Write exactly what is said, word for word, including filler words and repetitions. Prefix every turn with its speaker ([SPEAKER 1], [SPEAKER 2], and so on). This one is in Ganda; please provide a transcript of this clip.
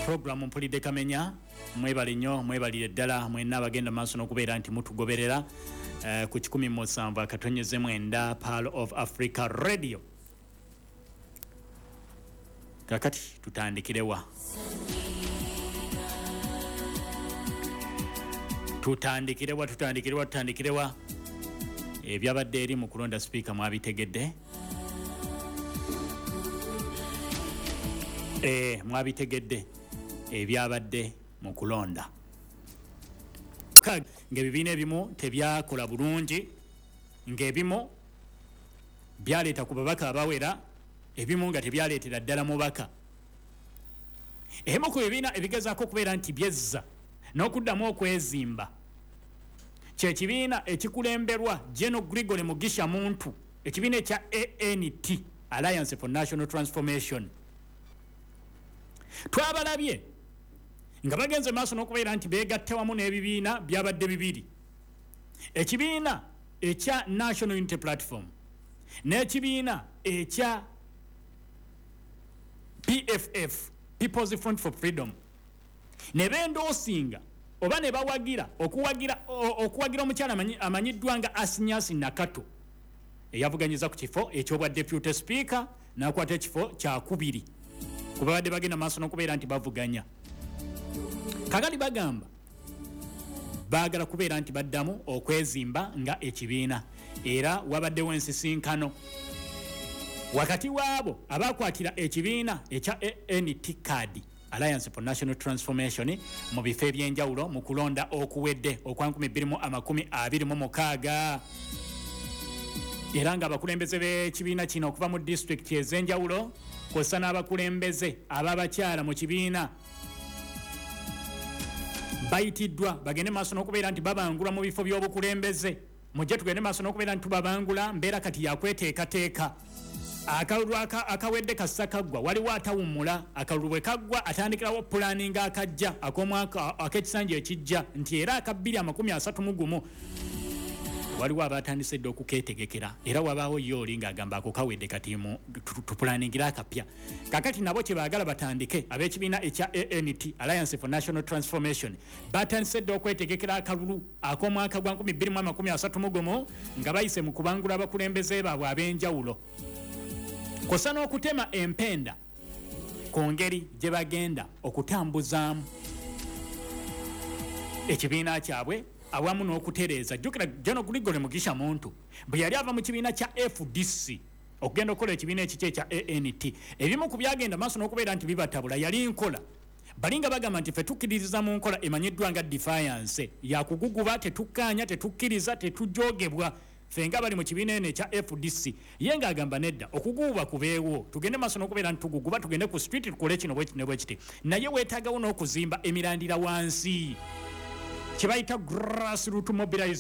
[SPEAKER 1] Program Mpulidde Kamenya. Mwebale nnyo, mwebalire ddala mwenna abagenda maaso n'okubeera nti mutugoberera eh, ku kikumi musanvu akatonyeze mwenda Pearl of Africa Radio. Kakati tutandikirewa? Tutandikirewa, tutandikirewa, tutandikirewa? Ebyabadde eri mu kulonda sipiika mwabitegedde? Eh, mwabitegedde ebyabadde mu kulonda. Ng'ebibiina ebimu tebyakola bulungi, ng'ebimu byaleeta ku babaka abawera, ebimu nga tebyaleetera ddala mubaka. Ebimu ku bibiina ebigezaako okubeera nti byezza n'okuddamu okwezimba kye kibiina ekikulemberwa General Gregory Mugisha Muntu, ekibiina ekya A N T, Alliance for National Transformation. Twabalabye nga bagenze maaso n'okubeera nti beegatta wamu n'ebibiina byabadde bibiri, ekibiina ekya National Unity Platform n'ekibiina ekya P F F, People's Front for Freedom, ne bendoosinga oba ne bawagira okuwagira okuwagira omukyala amanyiddwa nga Asinyasi Nakato eyavuganyiza ku kifo eky'obwa Deputy Speaker n'akwata ekifo kyakubiri kuba babadde bagenda maaso n'okubeera nti bavuganya. Kakati bagamba baagala kubeera nti baddamu okwezimba nga ekibiina, era wabaddewo ensisinkano wakati waabo abakwatira ekibiina ekya A N T card, Alliance for National Transformation, mu bifo ebyenjawulo mu kulonda okuwedde okwa nkumi bbiri mu amakumi abiri mu mukaaga, era nga abakulembeze b'ekibiina kino okuva mu disitulikiti ez'enjawulo kw'ossa n'abakulembeze ab'abakyala mu kibiina bayitiddwa bagende maaso n'okubeera nti babangula mu bifo by'obukulembeze. Mujje tugende maaso n'okubeera nti tubabangula, mbeera kati yakweteekateeka. Akalulu akawedde kassa kaggwa, waliwo atawummula. Akalulu bwe kaggwa atandikirawo pulaninga akajja ak'omwaka ak'ekisanja ekijja nti era aka bbiri amakumi asatu mu gumu waliwo abatandise dda okukeetegekera, era wabaawo ye oli ng'agamba ako kawedde kati tupulaningira akapya. Kakati nabo kye baagala batandike ab'ekibiina ekya A N T, Alliance for National Transformation, batandise dda okwetegekera akalulu ak'omwaka gwa nkumi bbiri mu amakumi asatu mu gumu nga bayise mu kubangula abakulembeze baabwe ab'enjawulo kw'ossa n'okutema empenda ku ngeri gye bagenda okutambuzaamu ekibiina kyabwe awamu n'okutereeza. Jjukira General Gregory Mugisha Muntu bwe yali ava mu kibiina kya F D C okugenda okukola ekibiina ekikye ekya A N T, ebimu ku byagenda maaso n'okubeera nti bibatabula yali nkola. Balinga bagamba nti ffe tukkiririza mu nkola emanyiddwa nga defiance, yakuguguba, tetukkaanya, tetukkiriza, tetujoogebwa ffe nga bali mu kibiina eno ekya F D C. Ye ng'agamba nedda, okuguguba kubeewo, tugende maaso n'okubeera nti tuguguba, tugende ku street tukole kino bwe kiti ne bwe kiti, naye weetaagawo n'okuzimba emirandira wansi kye bayita grassroot mobilization.